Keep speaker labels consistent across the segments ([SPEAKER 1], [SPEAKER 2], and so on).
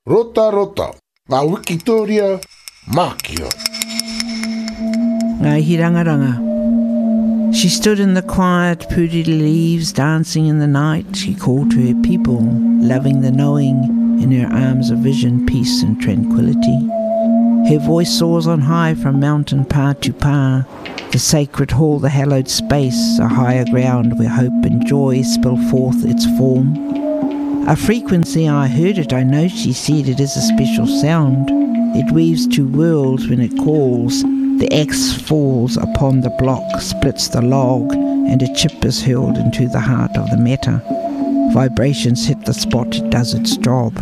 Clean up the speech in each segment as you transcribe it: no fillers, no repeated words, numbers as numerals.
[SPEAKER 1] Rotarota, ngā wikitōria mākio.
[SPEAKER 2] Ngā Hirangaranga She stood in the quiet puriri leaves dancing in the night She called to her people, loving the knowing In her arms of vision, peace and tranquility Her voice soars on high from mountain pa to pa The sacred hall, the hallowed space, a higher ground where hope and joy spill forth its form. A frequency I heard it, I know she said it is a special sound. It weaves two worlds when it calls. The axe falls upon the block, splits the log, and a chip is hurled into the heart of the matter. Vibrations hit the spot, it does its job.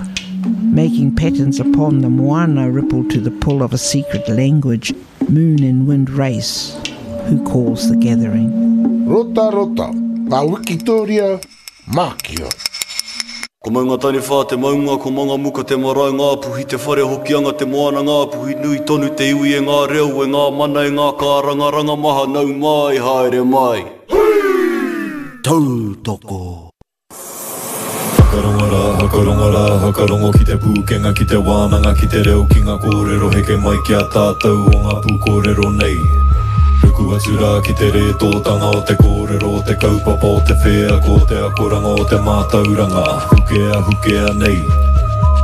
[SPEAKER 2] Making patterns upon the moana ripple to the pull of a secret language, moon and wind race, who calls the gathering.
[SPEAKER 1] Rotarota, ngā wikitōria mākio.
[SPEAKER 3] Ko Maungataniwha te maunga, ko Mangamuka te marae, Ngāpuhi te whare, Hokianga te moana, Ngāpuhi nui tonu te iwi e ngā reo, e ngā mana, e ngā kārangaranga maha, nau mai, haere mai.
[SPEAKER 4] Tautoko.
[SPEAKER 5] Whakarongo rā, whakarongo rā, whakarongo ki te pūkenga, ki te wānanga, ki te reo, ki ngā kōrero heke mai ki a tātou o ngā pūkōrero nei. Ruku atu rā ki te rētōtanga o te kōrero, o te kaupapa, o te wheako, o te akoranga, o te mātauranga, hukea, hukea nei.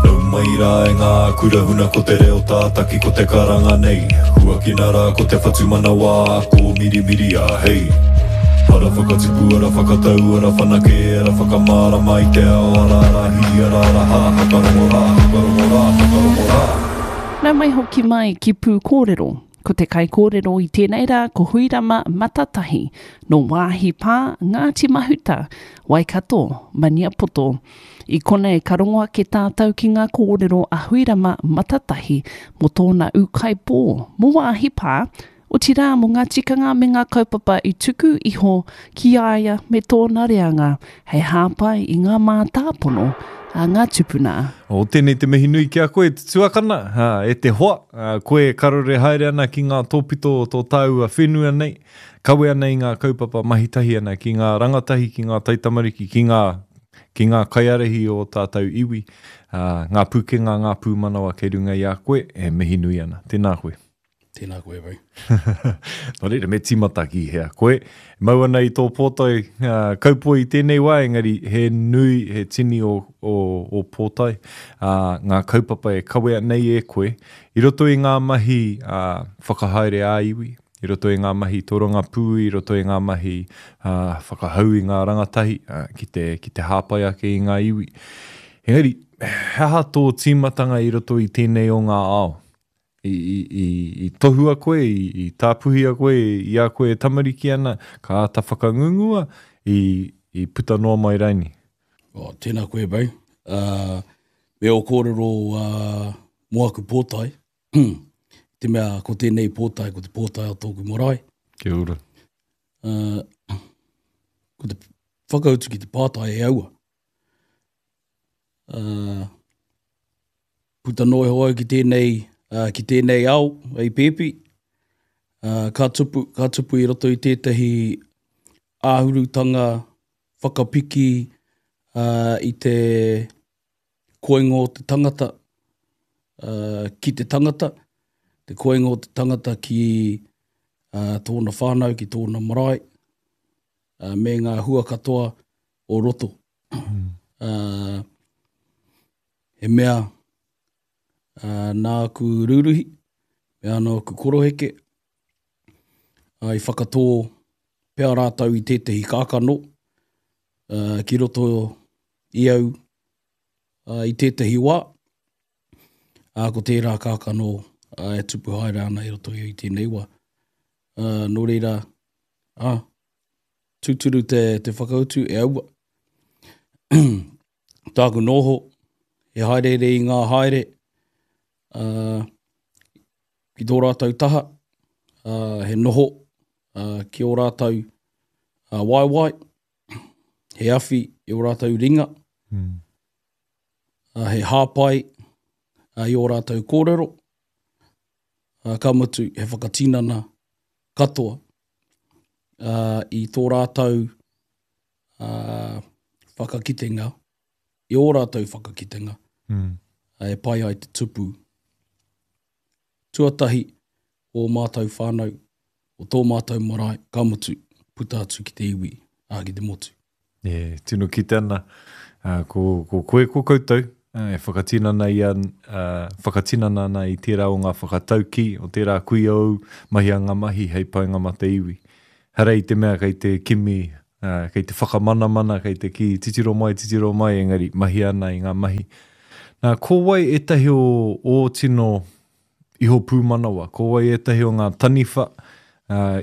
[SPEAKER 5] Nau mai rā e ngā kura huna ko te reo tātaki ko te karanga nei. Huakina rā ko te whatumanawa, kōmirimiria, hei. Ara whakatupu, ara whakatau, ara whanake, ara whakamārama i te ao, ara ara hī, ara ara hā, whakarongo rā, whakarongo rā, whakarongo rā.
[SPEAKER 6] Nau mai hoki mai ki Pūkōrero. Ko te kaikōrero i tēnei rā ko Huirama Matatahi, nō Wāhi Pā, Ngāti Mahuta, Waikato, Maniapoto. I konei ka rongo ake tātou ki ngā kōrero a Huirama Matatahi mō tōna ūkaipō, mō Wāhi Pā, otirā mō ngā tikanga me ngā kaupapa i tuku iho ki a ia me tōna reanga hei hāpai i ngā mātāpono a ngā tupuna.
[SPEAKER 5] O, tēnei te mihi nui ki a koe, te tuakana, e te hoa, koe e karore haere ana ki ngā tōpito o tō tāua whenua nei, kawe ana i ngā kaupapa mahi tahi ana ki ngā rangatahi, ki ngā taitamariki, ki ngā, ki ngā kaiārahi o ō tātou iwi, ngā pūkenga, ngā pūmanawa kei runga i a koe, e mihi nui ana. Tēnā koe.
[SPEAKER 7] Tēnā koe, Ray.
[SPEAKER 5] Nō reira, me tīmata ki hea koe. Mau ana i tō pōtae uh, kaupoi i tēnei wā, engari he nui, he tini o, o, o pōtae, uh, ngā kaupapa e kawea nei e koe, i roto i ngā mahi uh, whakahaere ā-iwi, i roto i ngā mahi torongapū, i roto i ngā mahi uh, whakahau i ngā rangatahi uh, ki, te, ki te hāpai ake i ngā iwi. Engari, he aha tō tīmatanga i roto i tēnei o ngā ao? I, i, i, i tohua koe, i, i tāpuhia koe i a koe e tamariki ana, ka āta whakangungua, i, i puta noa mai raini?
[SPEAKER 7] Oh, tēnā koe, Bay. Uh, me ō kōrero uh, mō aku pōtae. Te mea ko tēnei pōtae, ko te pōtae o tōku marae.
[SPEAKER 5] Kia ora.
[SPEAKER 7] Uh, ko te whakautu ki te pātai e aua. Uh, puta noa iho au ki tēnei, uh, ki tēnei ao, hei pēpi. Uh, ka tupu, ka tupu i roto i tētahi āhurutanga whakapiki uh, i te koingo o te tangata uh, ki te tangata, te koingo o te tangata ki uh, tōna whānau, ki tōna marae, uh, me ngā hua katoa o roto. Mm. Uh, he mea uh, nā aku rūruhi, me anō aku koroheke, uh, i whakatō pea rātou i tētehi kākano uh, ki roto i au uh, i tētehi wā, uh, ko tērā kākano uh, e tupu haere ana i roto i au i tēnei wā. Uh, nō reira, uh, tūturu te, te whakautu e aua. Tāku noho, he haereere i ngā haere uh, ki tō rātou taha, uh, he noho uh, ki ō rātou uh, waewae, he awhi i ō rātou ringa, mm. uh, he hāpai uh, i ō rātou kōrero, uh, ka mutu he whakatinana katoa uh, i tō rātou uh, whakakitenga, i ō rātou whakakitenga mm. e pai ai te tupu. Tuatahi, o ō mātou whānau, o tō mātou marae, ka mutu, puta atu ki te iwi, ā, ki te motu.
[SPEAKER 5] E tino kite ana, ko, ko koe, ko koutou, e whakatinana i a, whakatinana ana i tērā o ngā whakataukī, o tērā kuia ou, mahia ngā mahi hei painga mā te iwi. Hara i te mea kei te kimi, kei te whakamanamana, kei te kī titiro mai, titiro mai, engari mahia ana i ngā mahi. Nā, ko wai ētahi o ō tino iho pūmanawa, ko wai ētahi o ngā taniwha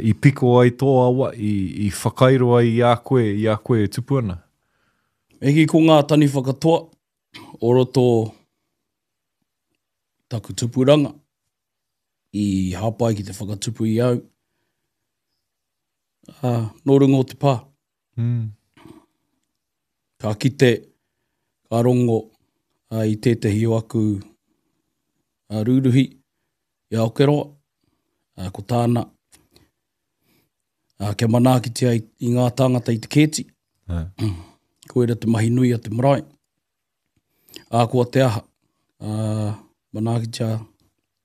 [SPEAKER 5] i piko ai tō awa, i, i whakairo ai i a koe, i a koe e tupu ana?
[SPEAKER 7] Me kī ko ngā taniwha katoa o roto taku tupuranga i hāpai ki te whakatupu i au, ā, nō runga o te pā. Mm. Ka kite, ka rongo uh, i tētehi o aku uh, rūruhi i Aokeroa, uh, ko tāna, uh, kia manaakitia i, i ngā tāngata i te kēti. Uh. Koira te mahi nui a te marae. Ā, koa te aha, uh, manaakitia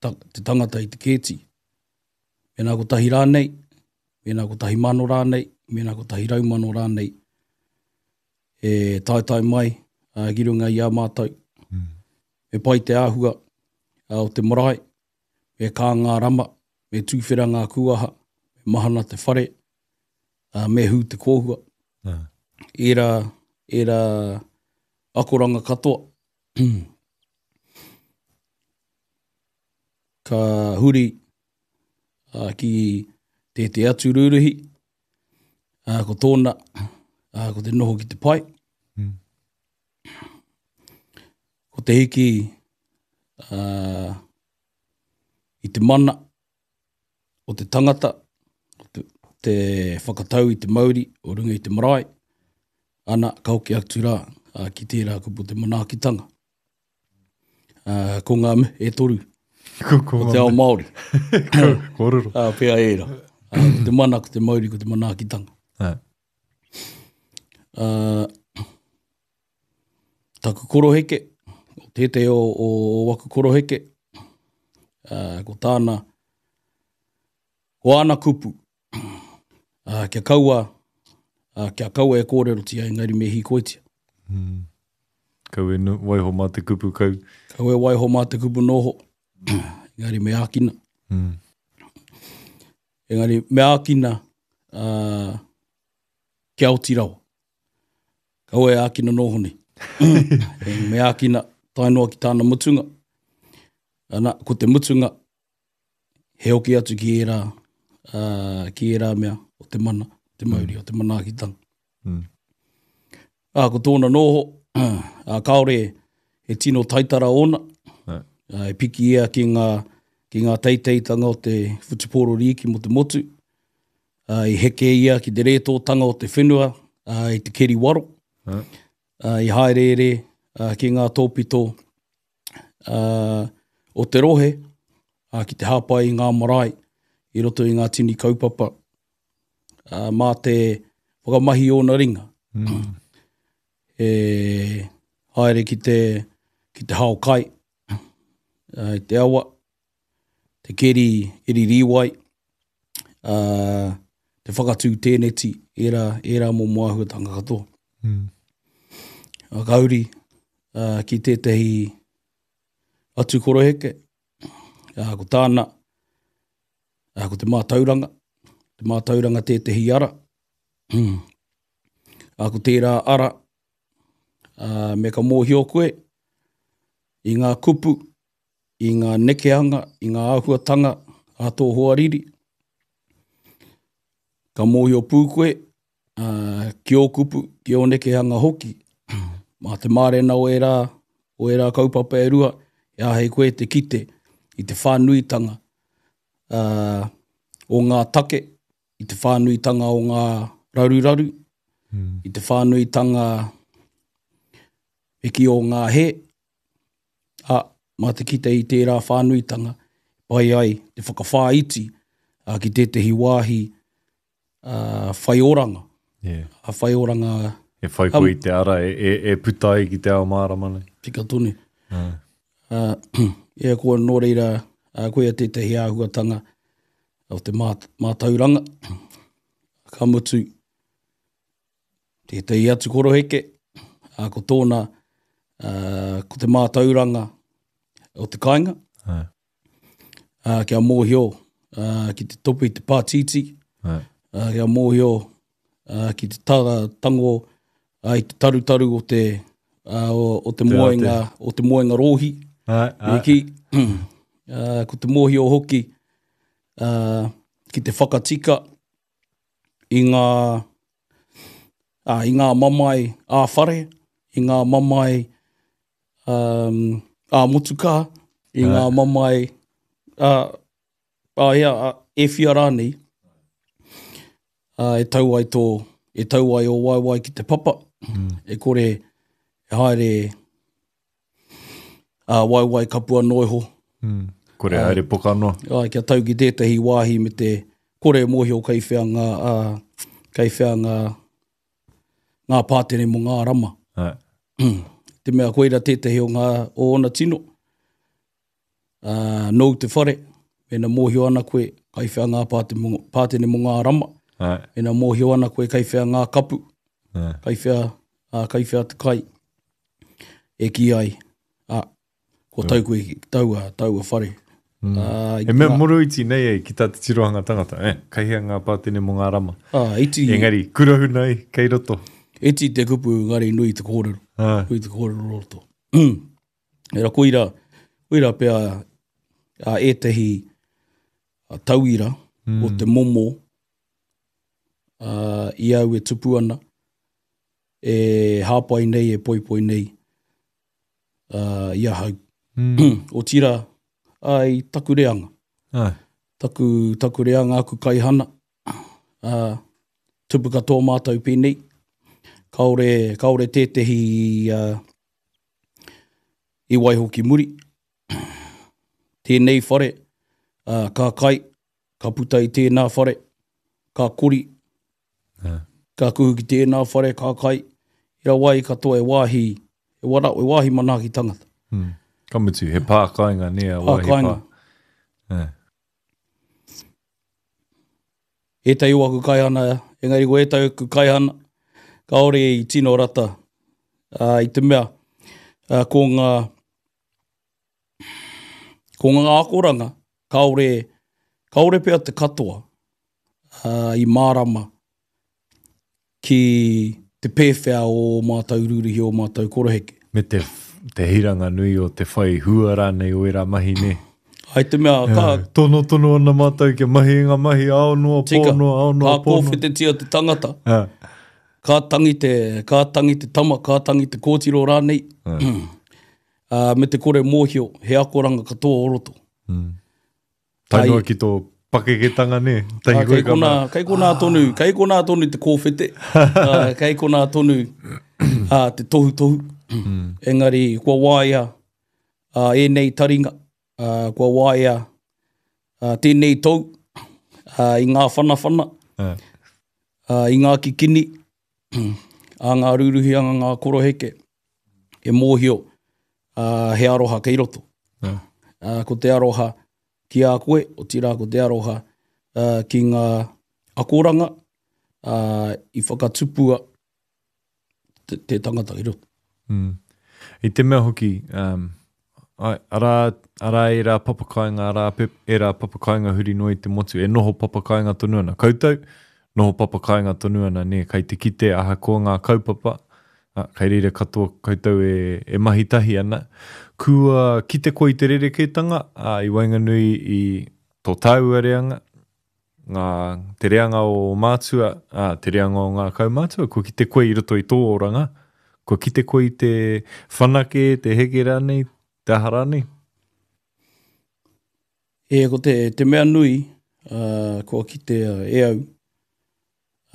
[SPEAKER 7] ta, te tangata i te kēti. Mēnā kotahi rānei, mēnā 1,000 rānei, mēnā 100,000 rānei e taetae mai ki runga i a mātou. Mm. Me pai te āhua o te marae, me kā ngā rama, me tūwhera ngā kūaha, me mahana te whare, me hū te kōhua. Mm. Ērā, ērā akoranga katoa. Ka huri ki tētehi atu rūruhi, ko tōna, ko te noho ki te pae. Mm. Ko te hiki i te mana o te tangata, te, te whakatau i te mauri o runga i te marae, ana, ka hoki atu rā ki tērā kupu te manaakitanga. Uh, ko ngā me, e toru.
[SPEAKER 5] Ko, ko,
[SPEAKER 7] ko te ao Māori.
[SPEAKER 5] Kōrero.
[SPEAKER 7] Uh, pea ērā. Uh, ko te mana, ko te mauri, ko te manaakitanga. Uh. Uh, taku koroheke, o tētehi o, o, o waku koroheke, uh, ko tāna, ko āna kupu, uh, kia kaua, uh, kia kaua e kōrerotia, engari me hīkoitia.
[SPEAKER 5] Mm. Kau e no, waiho mā te kupu kau.
[SPEAKER 7] Kau e waiho mā te kupu noho, engari me ākina.
[SPEAKER 5] Mm.
[SPEAKER 7] Engari me ākina uh, kia oti rawa. Kau e ākina noho nei. me ākina tae noa ki tāna mutunga. Ana, ko te mutunga, he hoki atu ki ērā, uh, ki ērā mea o te mana, te mauri, mm. o te manaakitanga.
[SPEAKER 5] Mm.
[SPEAKER 7] Ā, ko tōna noho, ā, kāore he tino taitara ōna, ā, e piki ia ki ngā, ki ngā teiteitanga o te whutupōro rīki mō te motu, ā, i heke ia ki te rētōtanga o te whenua, ā, i te keri waro, ā, i hāereere, ā, ki ngā tōpito, ā, o te rohe, ā, ki te hāpai i ngā marae i roto i ngā tini kaupapa, ā, mā te whakamahi i ōna ringa.
[SPEAKER 5] Mm.
[SPEAKER 7] E haere ki te, ki te hao kai, ā, i te awa, te keri, keri rīwai, ā, te whakatū tēneti, ērā, ērā momo āhuatanga katoa.
[SPEAKER 5] Mm.
[SPEAKER 7] Ā, ka huri ā, ki tētehi atu koroheke, ā, ko tāna, ā, ko te mātauranga, te mātauranga tētehi ara, ā, ko tērā ara, ā, me ka mōhio koe i ngā kupu, i ngā nekehanga, i ngā āhuatanga a tō hoariri, ka mōhio pū koe ā, ki ō kupu, ki ō nekehanga hoki. Mā te mārena o ērā, o ērā kaupapa e rua, e āhei koe te kite i te whānuitanga ā, o ngā take, i te whānuitanga o ngā raruraru,
[SPEAKER 5] mm.
[SPEAKER 7] i te whānuitanga e ki o ngā hē, ā, mā te kite i tērā whānuitanga, pai ai te whakawhāiti ā, ki tētehi wāhi uh, whai oranga.
[SPEAKER 5] Yeah.
[SPEAKER 7] A whai oranga.
[SPEAKER 5] E whai koe i te ara e, e, e puta ai ki te ao mārama nei.
[SPEAKER 7] Tika tonu.
[SPEAKER 5] Uh.
[SPEAKER 7] Ā, ia ko nō reira, ā, koia tētahi āhuatanga o te mā, mātauranga. Ka mutu, tētahi atu koroheke, ā, ko tōna, ā, ko te mātauranga o te kāinga.
[SPEAKER 5] Ā.
[SPEAKER 7] Ā, kia mōhio ā, ki te topu i te pātītī,
[SPEAKER 5] Ā.
[SPEAKER 7] ā, kia mōhio ā, ki te tara, tango ā, i te tarutaru o te, ā, o, o te
[SPEAKER 5] Te
[SPEAKER 7] moenga, o te moenga rōhi.
[SPEAKER 5] Ā, ā.
[SPEAKER 7] Me kī, ā, ko te mōhio hoki ā, ki te whakatika i ngā, ā, i ngā mamae ā-whare, i ngā mamae um, ā-motukā, i ngā mamae ā, ā, ea, ā, e whia rānei, ā, e tau ai tō, e tau ai ō waewae ki te papa, e kore e haere ā, waewae kapua noa iho.
[SPEAKER 5] Kore haere poka noa.
[SPEAKER 7] Āe, kia tau ki tētahi wāhi me te kore e mōhio kei whea ngā, ā, kei whea ngā, ngā pātere mō ngā rama.
[SPEAKER 5] Āe.
[SPEAKER 7] Te mea koira tētahi o ngā, o ōna tino. Ā, nōu te whare, mēnā mōhio ana koe kai whea ngā pāte mō, pātene mō ngā rama.
[SPEAKER 5] Āe.
[SPEAKER 7] Mēnā mōhio ana koe kai whea ngā kapu,
[SPEAKER 5] Āe.
[SPEAKER 7] kai whea, ā, kai whea te kai e kī ai, ā, kua tau koe ki taua, taua whare.
[SPEAKER 5] Mm.
[SPEAKER 7] Ā, i
[SPEAKER 5] He mea
[SPEAKER 7] ngā-
[SPEAKER 5] moroiti nei e ki tā te tirohanga tangata, eh, kai hea ngā pātene mō ngā rama.
[SPEAKER 7] Ā, iti,
[SPEAKER 5] Engari, kurahuna ai, kei roto.
[SPEAKER 7] iti te kupu, engari nui te kōrero.
[SPEAKER 5] Ā.
[SPEAKER 7] Nui te kōrero roto. Era koira, koira pea a ētahi tauira mm. o te momo uh, i au e tupu ana, e hāpai nei, e poipoi nei uh, i ahau.
[SPEAKER 5] Mm.
[SPEAKER 7] Otira, ai taku reanga.
[SPEAKER 5] Ai.
[SPEAKER 7] Taku, taku reanga, aku kaihana. Uh, tupu katoa mātou pēnei. Kaore, kaore tētehi uh, i waiho ki muri. Tēnei whare, uh, ka kai, ka puta i tēnā whare, ka kori, ka kuhu ki tēnā whare, ka kai. I rawa ai katoa e wāhi, e wara, e wāhi manaaki tangata.
[SPEAKER 5] Mm. Ka mutu, he pā kāinga, nē, a wāhi
[SPEAKER 7] pā. Kāinga.
[SPEAKER 5] Pā.
[SPEAKER 7] Ētahi o aku kaihana, engari ko ētahi o aku kaihana, kāore i tino rata ā, i te mea ā, ko ngā, ko ngā akoranga kāore, kāore pea te katoa ā, i mārama ki te pēwhea o ō mātou rūruhi, ō mātou koroheke.
[SPEAKER 5] Me te, te hiranga nui o te whai hua rānei o ērā mahi, nē?
[SPEAKER 7] Ai te mea, ka...
[SPEAKER 5] Tonotono ana mātou kia mahi i ngā mahi ao noa, pō noa, ao noa,
[SPEAKER 7] pō noa. Ka kōwhetetia te tangata,
[SPEAKER 5] uh.
[SPEAKER 7] ka tangi te, ka tangi te tama, ka tangi te kōtiro rānei, uh. me te kore mōhio, he akoranga katoa o roto.
[SPEAKER 5] Mm. Tae noa ki tō pakeketanga, nē?
[SPEAKER 7] Tahi koe kei konā, kei konā tonu, kei konā tonu te kōwhete, uh, kei konā tonu uh, te tohutohu. Mm. Engari, kua waia uh, ēnei taringa, uh, kua waia uh, tēnei tou uh, i ngā whanawhana,
[SPEAKER 5] uh.
[SPEAKER 7] Uh, i ngā kikini, a ngā rūruhi, a ngā koroheke, e mōhio uh, he aroha kei roto.
[SPEAKER 5] Yeah.
[SPEAKER 7] Uh, ko te aroha ki a koe, otirā ko te aroha uh, ki ngā akoranga uh, i whakatupua te, te tangata ki roto.
[SPEAKER 5] Mm. I te mea hoki, um, ai, arā, arā ērā papakainga, arā pep, ērā papakainga huri noa i te motu, e noho papakainga tonu ana. Koutou, noho papakainga tonu ana, nē, kai te kite ahakoa ngā kaupapa, ā, kai reira katoa koutou e, e mahi tahi ana. Kua kite koe i te rerekētanga, ā, i waenganui i tō tāua reanga, ngā, te reanga o ō mātua, ā, te reanga o ngā kaumātua, kua kite koe i roto i tō oranga, kua kite koe i te whanake, te heke rānei, te aha rānei?
[SPEAKER 7] E, ko te, te mea nui, uh, kua kitea e au,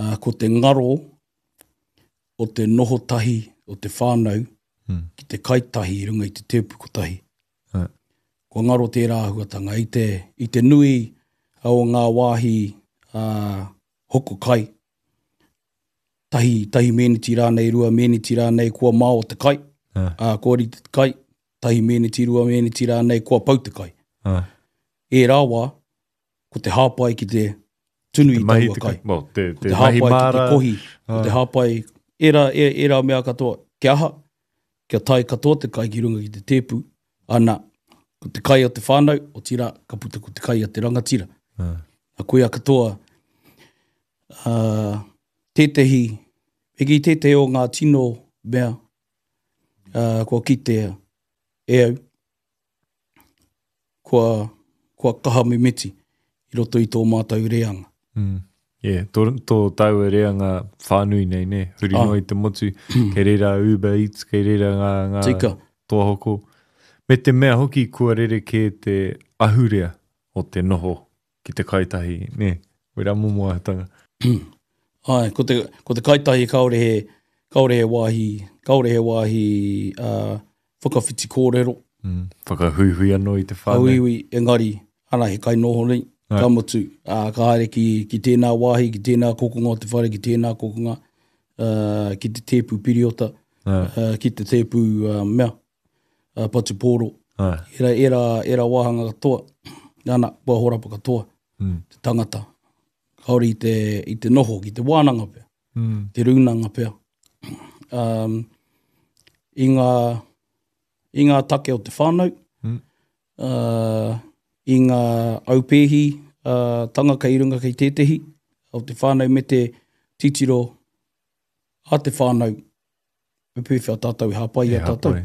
[SPEAKER 7] uh, ko te ngaro o te noho tahi o te whānau
[SPEAKER 5] mm.
[SPEAKER 7] ki te kai tahi i runga i te tēpu kotahi.
[SPEAKER 5] Uh.
[SPEAKER 7] Kua ngaro tērā āhuatanga i te, i te nui o ngā wāhi uh, hoko kai, tahi, tahi meniti rānei, rua meniti rānei, kua mao te kai, uh. uh, kua rite te kai. tahi mēneti, rua mēneti rānei, kua pau te kai.
[SPEAKER 5] Ah.
[SPEAKER 7] Ērā wā, ko te hāpai ki te tunu i taua kai.
[SPEAKER 5] Well, te,
[SPEAKER 7] te, te hāpai ki te kohi, ko te ah. hāpai, ērā, ērā mea katoa, kia aha, kia tae katoa te kai ki runga ki te tēpu, ana, ko te kai a te whānau, otirā, ka puta ko te kai a te rangatira.
[SPEAKER 5] Ah.
[SPEAKER 7] A koia katoa, uh, tētehi, me kī tētehi o ngā tino mea, uh, kua kitea e au, kua, kua kaha mimiti i roto i tō mātou reanga.
[SPEAKER 5] Mm. Yeah, tō, tō tāua reanga whānui nei, nē, huri ah. noa i te motu, kei reira Uber Eats, kei reira ngā, ngā
[SPEAKER 7] Tika.
[SPEAKER 5] toa hoko. Me te mea hoki kua rerekē te ahurea o te noho ki te kaitahi, nē, wera momo āhuatanga.
[SPEAKER 7] Āe, ko te, ko te kaitahi kāore he, kāore he wāhi, kāore he wāhi uh, whakawhiti kōrero.
[SPEAKER 5] Mm, whakahuihui anō i te whānau.
[SPEAKER 7] Whakahuihui, engari, ana he kainoho nei, ka mutu, uh, ka haere ki, ki tēnā wāhi, ki tēnā kokonga o te whare, ki tēnā kokonga, uh, ki te tēpu piriota, uh, ki te tēpu uh, mea, uh, patu pōro.
[SPEAKER 5] Ai.
[SPEAKER 7] Era, era, era wāhanga katoa, ana, kua horapa katoa,
[SPEAKER 5] mm.
[SPEAKER 7] te tangata. Kaore i te, i te noho ki te wānanga pea,
[SPEAKER 5] mm.
[SPEAKER 7] te rūnanga pea. Um, i, ngā, I ngā take o te whānau,
[SPEAKER 5] mm.
[SPEAKER 7] uh, i ngā aupēhi uh, tanga kei runga kei tētehi o te whānau me te titiro a te whānau me pēwhea tātou e hāpai i a tātou.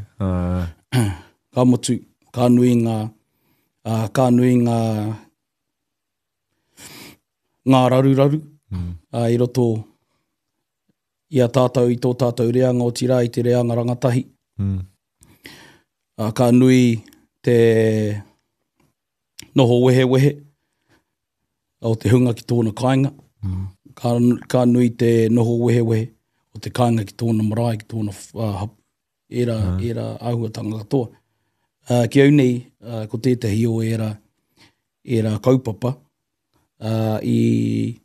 [SPEAKER 7] Ka mutu, ka nui ngā, uh, ka nui ngā, ngā raruraru
[SPEAKER 5] mm.
[SPEAKER 7] uh, i roto i a tātou, i tō tātou reanga, otirā i te reanga rangatahi.
[SPEAKER 5] Mm.
[SPEAKER 7] Uh, ka nui te noho wehewehe o te hunga ki tōna kāinga.
[SPEAKER 5] Mm.
[SPEAKER 7] Ka, ka nui te noho wehewehe o te kāinga ki tōna marae, ki tōna uh, hapu. Ērā, mm. ērā āhuatanga katoa. Uh, ki au nei, uh, ko tētahi o ērā, ērā kaupapa uh, i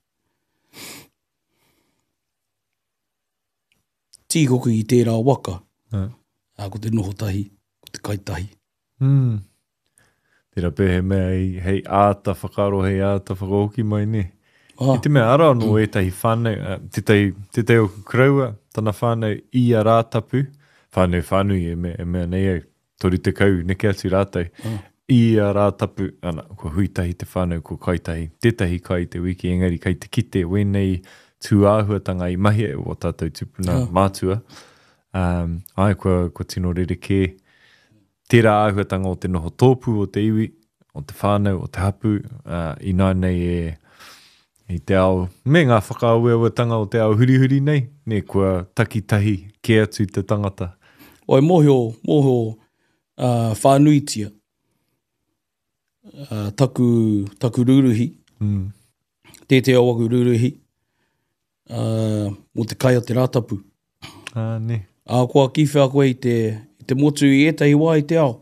[SPEAKER 7] tīkoki i tērā waka,
[SPEAKER 5] mm.
[SPEAKER 7] uh, ko te noho tahi, ko te kai tahi.
[SPEAKER 5] Mm. Tērā pea he mea hei, hei āta whakaaro, hei āta whakahoki mai, nē.
[SPEAKER 7] Ah.
[SPEAKER 5] I te mea, arā anō ētahi whānau, tētahi, tētahi o koroua, tana whānau i a Rātapu, whānau whānui e mea, e mea nei au, 30 neke atu rātou,
[SPEAKER 7] ah.
[SPEAKER 5] i a Rātapu, ana, kua hui tahi te whānau, kua kai tahi, tētahi kai i te wiki, engari kai te kite wēnei tūāhuatanga i mahia e wō tātou tūpuna
[SPEAKER 7] ah.
[SPEAKER 5] mātua, um, ai, kua, kua tino rerekē Tērā āhuatanga o te noho tōpū o te iwi, o te whānau, o te hapū, ā, ināianei e, i te ao, me ngā whakaaweawetanga o te ao hurihuri nei, nē, kua takitahi kē atu te tangata.
[SPEAKER 7] Oi, mōhio, mōhio, ā, whānuitia, ā, taku, taku rūruhi,
[SPEAKER 5] mm.
[SPEAKER 7] tētehi o aku rūruhi, ā, mō te kai o te Rātapu.
[SPEAKER 5] Ā, nē.
[SPEAKER 7] Ahakoa ki whea koe i te, i te motu i ētahi wā i te ao,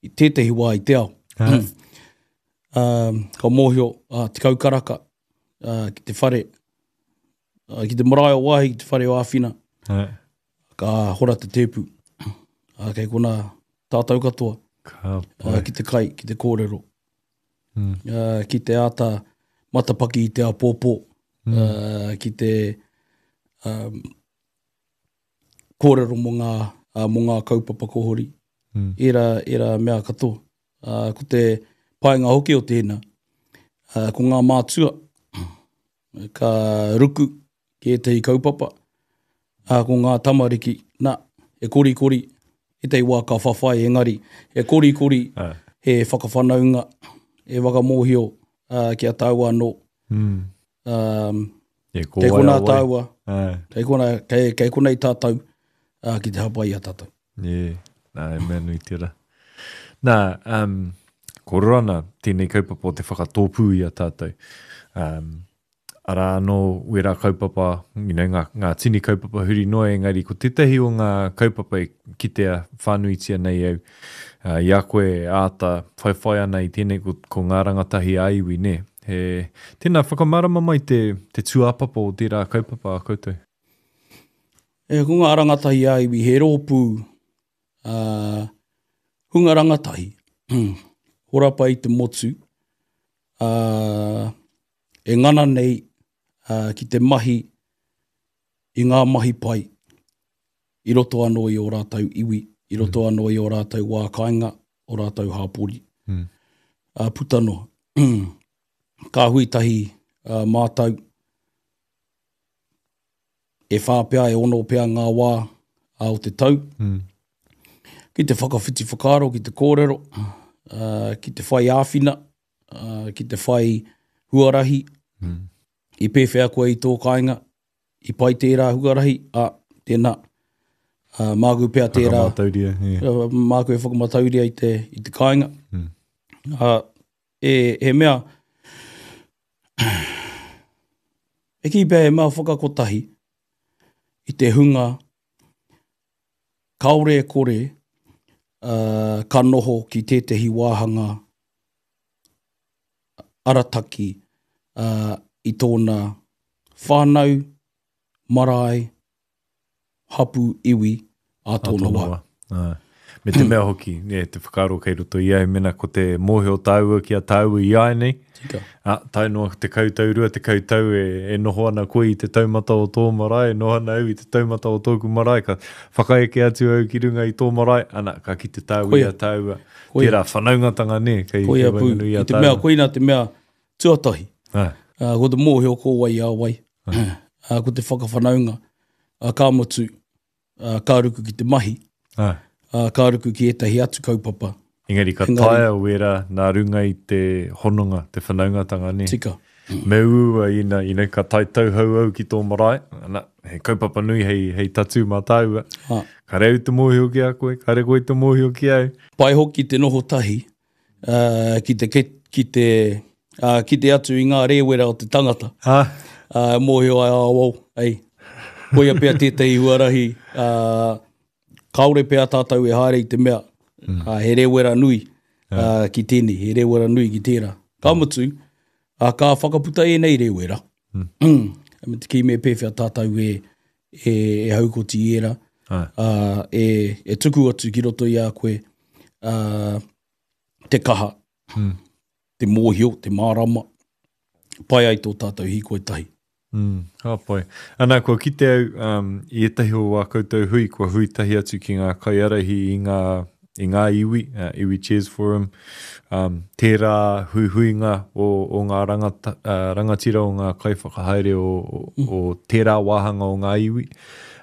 [SPEAKER 7] i tētahi wā i te ao.
[SPEAKER 5] Ā.
[SPEAKER 7] Ā, ka mōhio, ā, 10 karaka, ā, ki te whare, ā, ki te marae o Waahi, ki te whare o Āwhina.
[SPEAKER 5] Ā.
[SPEAKER 7] Ka hora te tēpu. Ā, kei konā tātou katoa.
[SPEAKER 5] Ka pai.
[SPEAKER 7] Ā, ki te kai, ki te kōrero.
[SPEAKER 5] Mm.
[SPEAKER 7] Ā, ki te āta matapaki i te āpōpō.
[SPEAKER 5] Mm.
[SPEAKER 7] Ā, ki te um, kōrero mō ngā, uh, mō ngā kaupapa kohori.
[SPEAKER 5] Mm.
[SPEAKER 7] Ērā, ērā mea katoa. Uh, ko te painga hoki o tēnā, uh, ko ngā mātua, ka ruku ki ētahi kaupapa, ā, ko ngā tamariki, nā, he korikori, ētahi wā ka whawhai engari, he korikori, he whakawhanaunga, he whakamōhio ā, ki a tāua anō.
[SPEAKER 5] Mm.
[SPEAKER 7] Um,
[SPEAKER 5] yeah, ko
[SPEAKER 7] kei
[SPEAKER 5] wai
[SPEAKER 7] konā
[SPEAKER 5] a wai.
[SPEAKER 7] tāua,
[SPEAKER 5] Āe.
[SPEAKER 7] kei konā, kei, kei konei tātou ā, ki te hāpai i a tātou.
[SPEAKER 5] Yeah, nā, e mea nui tērā. Nā, um, kōrero ana tēnei kaupapa o te whakatōpū i a tātou. Um, arā anō wērā kaupapa, you know, ngā, ngā tini kaupapa huri noa, engari ko tētahi o ngā kaupapa e kitea whānuitia nei au, uh, i a koe e āta whaiwhai ana i tēnei ko, ko ngā rangatahi ā-iwi, nē. He, tēnā, whakamārama mai te, te tūāpapa o tērā kaupapa a koutou.
[SPEAKER 7] E, ko ngā rangatahi ā-iwi, he rōpū uh, hunga rangatahi, horapa i te motu, uh, e ngana nei uh, ki te mahi i ngā mahi pai i roto anō i ō rātou iwi, i roto mm. anō i ō rātou wā kāinga, ō rātou hāpori. Mm. Uh, puta noa. Ka hui tahi uh, mātou, e whā pea, e ono pea ngā wā o te tau, mm. ki te whakawhiti whakaaro, ki te kōrero, uh, ki te whai āwhina, uh, ki te whai huarahi, mm. i pēwhea koe i tō kāinga, i pai tērā huarahi, a, tēnā, uh, māku pea tērā.
[SPEAKER 5] Whakamatauria, yeah.
[SPEAKER 7] Uh, māku e whakamatauria i te, i te kāinga. Mm. Uh, e, he mea, e kī pea he mea whakakotahi i te hunga kāore e kore uh, ka noho ki tētehi wāhanga arataki uh, i tōna whānau, marae, hapū, iwi ā tōna wā.
[SPEAKER 5] Ā. Me te mea hoki, nē, te whakaaro kei roto i a au, mena ko te mōhio tāua ki a tāua i āianei,
[SPEAKER 7] Tika.
[SPEAKER 5] ā, tae noa 10 tau, 20 tau e, e noho ana koe i te taumata o tō marae, e noho ana au i te taumata o tōku marae, ka whakaeke atu au ki runga i tō marae, ana, ka kite tāua i
[SPEAKER 7] Koia.
[SPEAKER 5] a tāua.
[SPEAKER 7] Koia.
[SPEAKER 5] Tērā whanaungatanga, nē, kei, kei
[SPEAKER 7] Koia pū.
[SPEAKER 5] waenganui i
[SPEAKER 7] I
[SPEAKER 5] a
[SPEAKER 7] te mea,
[SPEAKER 5] tāua.
[SPEAKER 7] koina te mea tuatahi.
[SPEAKER 5] Ā.
[SPEAKER 7] Ā, ko te mōhio ko wai a wai. Ā, ko te whakawhanaunga, ā, ka mutu, ā, ka ruku ki te mahi,
[SPEAKER 5] Ā.
[SPEAKER 7] ā, ka ruku ki ētahi atu kaupapa.
[SPEAKER 5] Engari ka
[SPEAKER 7] Engari-
[SPEAKER 5] taea wērā nā runga i te hononga, te whanaungatanga, nē?
[SPEAKER 7] Tika.
[SPEAKER 5] Me uaua ina, you know, ka tae tauhou au ki tō marae, ana, he kaupapa nui hei, hei tatū mā tāua.
[SPEAKER 7] Ā.
[SPEAKER 5] Kare au te mōhio ki a koe, kare koe te mōhio ki au.
[SPEAKER 7] Pai hoki te noho tahi, ā, ki te, ki te, ā, kite atu i ngā rēwera o te tangata.
[SPEAKER 5] Ā.
[SPEAKER 7] Ā, mōhio ai, ā, oh, ei, koia pea tētahi huarahi, ā, kāore pea tātou e haere i te mea, mm. ā, he rēwera nui ā, ki tēnei, he rēwera nui ki tērā. Ka mutu, ā, ka whakaputa ēnei rēwera, mm. me te kī me pēwhea tātou e, e, e haukoti i ērā, ā, e, e tuku atu ki roto i a koe, ā, te kaha, mm. te mōhio, te mārama, pai ai tō tātou hīkoi tahi.
[SPEAKER 5] Mm, ka pai. Ana, kua kite au um, i ētahi o wā koutou hui, kua hui tahi atu ki ngā kaiarahi i ngā, i ngā iwi, uh, Iwi Chairs Forum, um, tērā huihuinga o, o ngā rangata, uh, rangatira o ngā kaiwhakahaere o, o, mm. o tērā wāhanga o ngā iwi.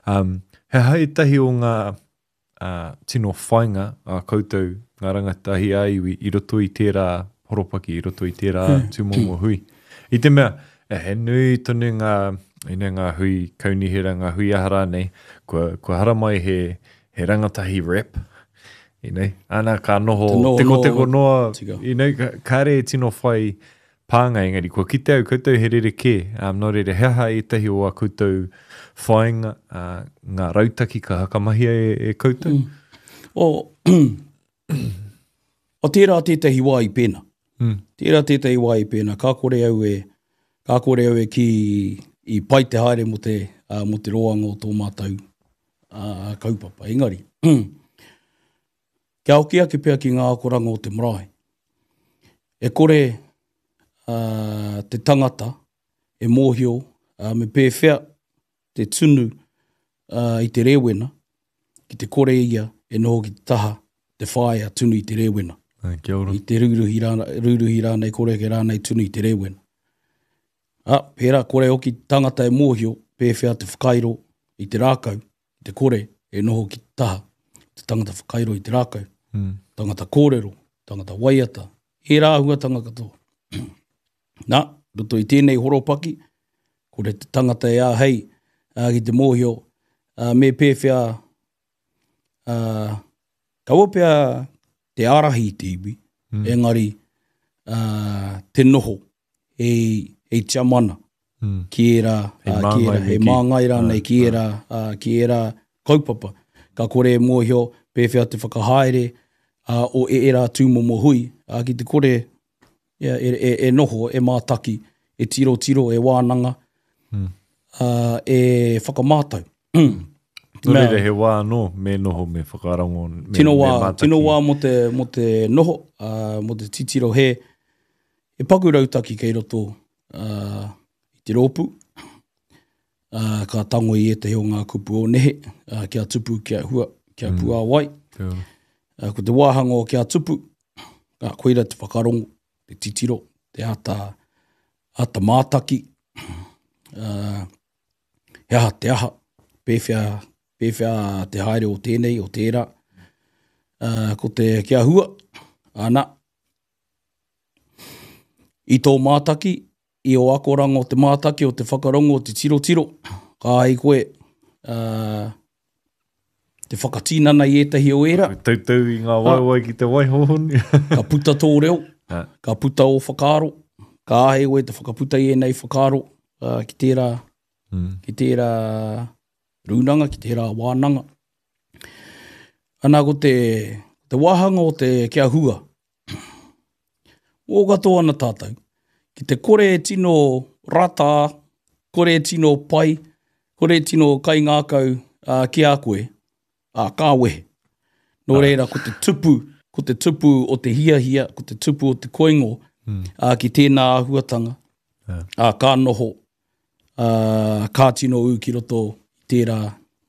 [SPEAKER 5] Um, he aha ētahi o ngā ā, tino whainga a koutou ngā rangatahi ā-iwi i roto i tērā horopaki, i roto i tērā tūmomo hui. I te mea, he nui tonu ngā, you know, ngā hui kaunihera, ngā hui aha rānei, kua, kua haramai he, he rangatahi rep, you know, ana ka noho tekoteko noa, you know, kāre e tino whai pānga, engari kua kite au koutou he rerekē, um, nō reira, he aha ētahi o ā koutou whāinga, uh, ngā rautaki ka hakamahia e, e koutou?
[SPEAKER 7] Mm. O, o tērā tētahi wā i pēnā. Mm. Tērā tētahi wā i pēnā, ka kore au e, ka kore au e ki i pai te haere mō te, uh, mō te roanga o tō mātou uh, kaupapa. Engari, Kia hoki ake pea ki ngā akoranga o te marae. E kore uh, te tangata e mōhio uh, me pēwhea te tunu uh, i te rēwena, ki te kore ia e noho ki te taha te whaea tunu i te rēwena.
[SPEAKER 5] Ai, kia ora.
[SPEAKER 7] I te rūruhi, rāna, rūruhi rānei, kore ake rānei tunu i te rēwena. A, pērā kore hoki tangata e mōhio pēwhea te whakairo i te rākau, te kore e noho ki te taha, te tangata whakairo i te rākau, mm. tangata kōrero, tangata waiata, ērā āhuatanga katoa. Nā, roto i tēnei horopaki, kore te tangata e āhei ā, ki te mōhio ā, me pēwhea ā, kaua pea te ārahi i te iwi, mm. engari ā, te noho hei, hei tiamana mm. ki ērā, hei uh, ki ērā, hei māngai rānei ki ērā, uh, ki ērā kaupapa. Ka kore e mōhio pēwhea te whakahaere uh, o ērā tūmomo hui, uh, ki te kore yeah, e, e, e noho, e mātaki, e tirotiro, e wānanga, mm. uh, e whakamātau.
[SPEAKER 5] Nō reira, he wā anō me noho, me whakarongo, me,
[SPEAKER 7] tino wā,
[SPEAKER 5] me mātaki.
[SPEAKER 7] Tino wā mō te, mō te noho, uh, mō te titiro he, he paku rautaki kei roto uh, i te rōpū. Uh, ka tango i ētahi o ngā kupu o nehe, uh, kia tupu, kia hua, kia mm. puāwai. Uh, ko te wāhanga o kia tupu, uh, koira te whakarongo, te titiro, te āta, āta mātaki, uh, he aha te aha, pēwhea, pēwhea te haere o tēnei, o tērā. Uh, ko te kia hua, ana, i tō mātaki, i ō akoranga o te mātaki, o te whakarongo, o te tirotiro, ka ai koe uh, te whakatinana i ētahi o ērā.
[SPEAKER 5] Tautau i ngā waewae ki te wai hōhonu.
[SPEAKER 7] ka puta tō reo, ka puta ō whakaaro, ka āhei koe te whakaputa i ēnei whakaaro uh, ki tērā, mm. ki tērā rūnanga, ki tērā wānanga. Ana ko te, te wāhanga o te kia hua, Mō katoa ana tātou. Ki te kore e tino rata, kore e tino pai, kore e tino kaingākau uh, ki a koe, uh, ka wehe. Nō reira, ko te tupu, ko te tupu o te hiahia, ko te tupu o te koingo mm. uh, ki tēnā āhuatanga, yeah. uh, ka noho, uh, ka tino ū ki roto i tērā,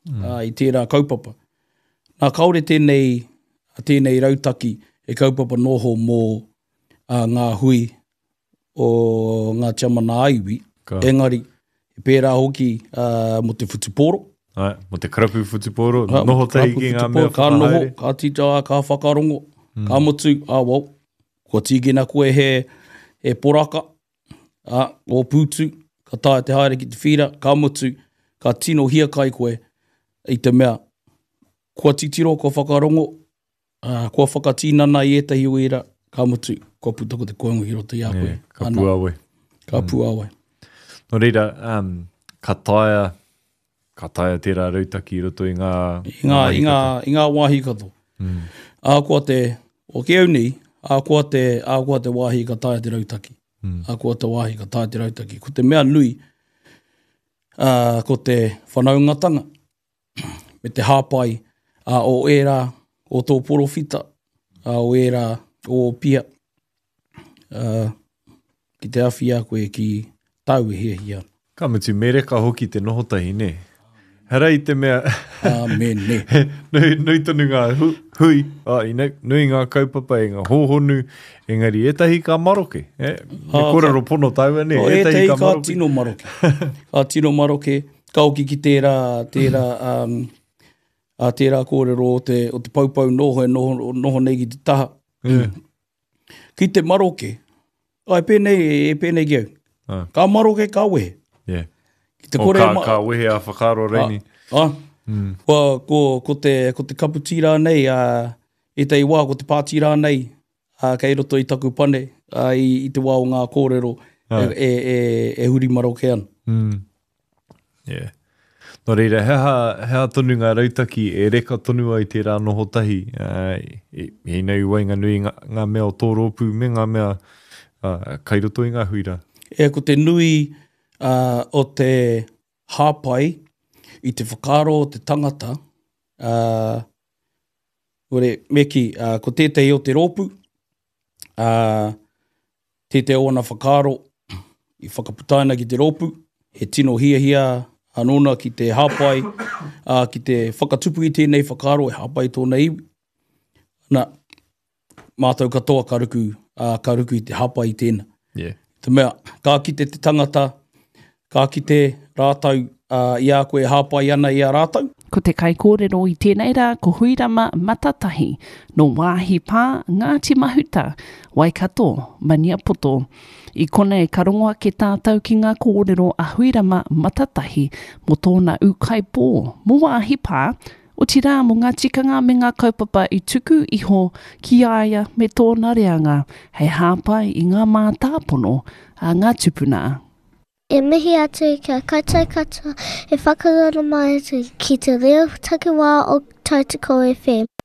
[SPEAKER 7] mm. uh, i tērā kaupapa. Nā, kāore tēnei, tēnei rautaki e kaupapa noho mō uh, ngā hui o ngā tiamana ā-iwi, Ka. engari, e pērā hoki uh, mō te whutupōro.
[SPEAKER 5] Ai, mō te karapu whutupōro, ha, noho tahi ki ngā mea
[SPEAKER 7] Ka noho, ka tita, ka whakarongo, mm. ka mutu, ah, well, kua tīkina koe he, he poraka, ā, ō pūtu, ka taea te haere ki te whīra, ka mutu, ka tino hiakai koe i te mea, kua titiro, kua whakarongo, ā, kua whakatinana i ētahi o ērā, ka mutu, kua puta ko te koingo ki roto i a koe.
[SPEAKER 5] Yeah, ka puāwai.
[SPEAKER 7] Ka mm. puāwai.
[SPEAKER 5] Nō reira, um, ka taea, ka taea tērā rautaki i roto i ngā...
[SPEAKER 7] I ngā, i ngā, i ngā wāhi katoa. Mm. Ahakoa te, o ki au nei, ahakoa te, ahakoa te wāhi ka taea te rautaki. Mm. Ahakoa te wāhi ka taea te rautaki. Ko te mea nui, uh, ko te whanaungatanga me te hāpai uh, o ērā o tō porowhita, uh, o ērā o pia, uh, ki te awhi a koe ki tāu e hiahia ana.
[SPEAKER 5] Ka mutu, me reka hoki te noho tahi, nē? Hara i te mea...
[SPEAKER 7] Āmene.
[SPEAKER 5] nui, nui tonu ngā hu, hui, oh, you know, nui ngā kaupapa e ngā hōhonu, engari ētahi ka maroke. Eh? Me ah, kōrero pono tāua, nē?
[SPEAKER 7] Oh, ētahi ka, ka tino maroke. ka tino maroke. Ka hoki ki tērā, tērā, um, a tērā kōrero o te, o te poupou noho e noho, noho nei ki te taha.
[SPEAKER 5] Yeah.
[SPEAKER 7] Ki te maroke, ai pēnei, e pēnei ki au.
[SPEAKER 5] Ah.
[SPEAKER 7] Ka maroke, ka wehe.
[SPEAKER 5] Yeah.
[SPEAKER 7] Ki te kore
[SPEAKER 5] oh, ka, ka wehe a whakaaro reini.
[SPEAKER 7] Ah, ah. Mm. Kua, ko, ko, te, ko te kapu rānei, a, ētahi wā ko te pāti rānei, a, kei roto i taku pane, a, i, i te wā o ngā kōrero ah. e, e, e, e huri maroke ana.
[SPEAKER 5] Mm. Yeah. Nō reira, he aha, he aha tonu ngā rautaki e reka tonu ai tērā noho tahi, uh, i, i nei waenganui ngā, ngā mea o tō rōpū me ngā mea uh, kai roto i ngā hui rā?
[SPEAKER 7] E, ko te nui uh, o te hāpai i te whakaaro o te tangata, uh, ore, me kī, uh, ko tētahi o te rōpū, uh, Tētehi o ana whakaaro i whakaputaina ki te rōpū, he tino hiahia nōna ki te hāpai, ā, ki te whakatupu i tēnei whakaaro e hāpai tōna iwi. Na, mātou katoa ka ruku, ā, ka ruku i te hāpai i tēnā.
[SPEAKER 5] Yeah.
[SPEAKER 7] Te mea, ka kite te tangata, ka kite rātou ā, i a koe e hāpai ana i a rātou.
[SPEAKER 6] Ko te kaikōrero i tēnei rā ko Huirama Matatahi, nō Wāhi Pā, Ngāti Mahuta, Waikato, Maniapoto. I konei ka rongo ake tātou ki ngā kōrero a Huirama Matatahi mō tōna ūkaipō, mō Wāhi Pā, otirā mō ngā tikanga me ngā kaupapa i tuku iho ki a ia me tōna reanga hei hāpai i ngā mātāpono a ngā tupuna.
[SPEAKER 4] E mihi atu ki a koutou katoa e whakarara mai atu ki te reo takiwā o Tautoko FM.